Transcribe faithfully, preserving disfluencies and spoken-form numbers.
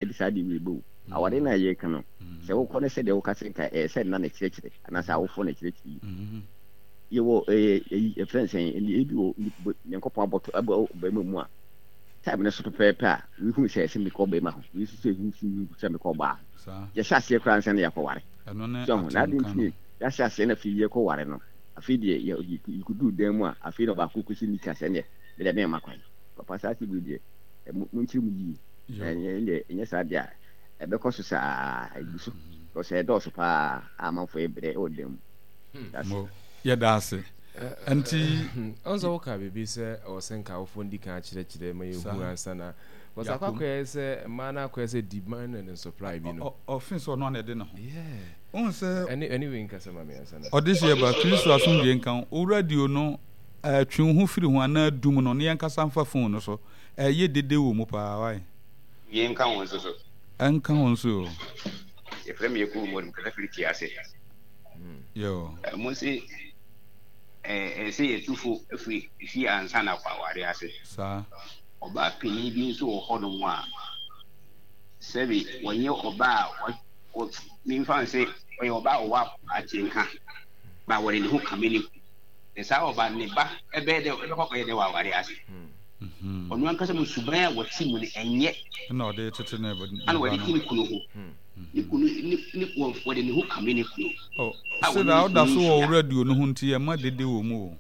Ɛde saa de wei bɛwu. Aware no a yɛreka no, sɛ wokɔ no sɛdeɛ woka sɛ nka ɛyɛ sɛ nna na kyerɛkyerɛ anaasɛ awofoɔ na kyerɛkyerɛ yi. Yɛwɔ ɛyɛ ɛyi ɛfrɛ no sɛn, ɛne ebi wɔ Nyankopɔn abɔto abɔ bɛrima mu a time no so pɛpɛɛpɛ a wehu sɛ ɛsɛ mekɔ bɛrima ho, wei nso sɛ ehu sɛ mekɔ ɔbaa ho. Yɛhyɛ aseɛ koraa ansa na yɛakɔware. So ho na ade nti ne yɛahyɛ aseɛ na afei yɛkɔware no, afei deɛ yɛkɔduru dan mu a, afei na ɔbaako kɔsi nika sɛ neɛ medeɛ memma kwan. Papa, saa asɛm wei deɛ monkyerɛ mu yie. Ɛnyɛ ɛnyɛ saa deɛ a ɛbɛkɔ so saa, ɛgu so because ɛdɔɔso paa a amanfoɔ yɛ brɛ wɔ dan mu. Mo, yɛda ase. Nti ɔn sɛ woka biribi sɛ ɛwɔ sɛ nka awofoɔ ndi kan akyerɛkyerɛ ma yɛhu ansa na because akɔ akɔyɛ sɛ mmaa no akɔyɛ sɛ demand and supply bi no. Ɔfe sɛ ɔno ana ɛde ne ho. Wohu sɛ ɛne ɛne wei nkasa ma me ansa na. Ɔde hyeɛ ba Kristo asomdwoeɛ nka wo. Wo radio no twe wo ho firi ho anaa dum no na yɛnkasa mfa phone no so. Ɛyɛ dede wɔ mu paa wai. Wie nka ho nso so. Ɛnka ho nso o. Yɛfrɛ me Yakubu Modu, mekasa firi Tiase. Yo. Mo se ɛɛ sɛ yɛtu fo firi fie ansa na akɔ aware ase. Saa. Ɔbaa panin bi nso wɔ hɔnom a sɛbi wɔnyɛ ɔbaa a wɔ memfa no sɛ ɔyɛ ɔbaa a ɔwɔ atenka ba wɔde ne ho kame ne kunu. Na saa ɔbaa no ne ba ɛbɛyɛ dɛ ɛbɛkɔ akɔyɛ dɛ wɔ aware ase. Ɔno ankasa mu suban a wɔte mu no ɛnyɛ. Ɛna ɔde tete ne ba no. Ɛna wɔde te ne kunu ho. Ne kunu ne ne wɔde ne ho kame ne kunu. Oh, sɛ da ɔda so wɔ radio no ho nti ɛma dede wɔ mu o.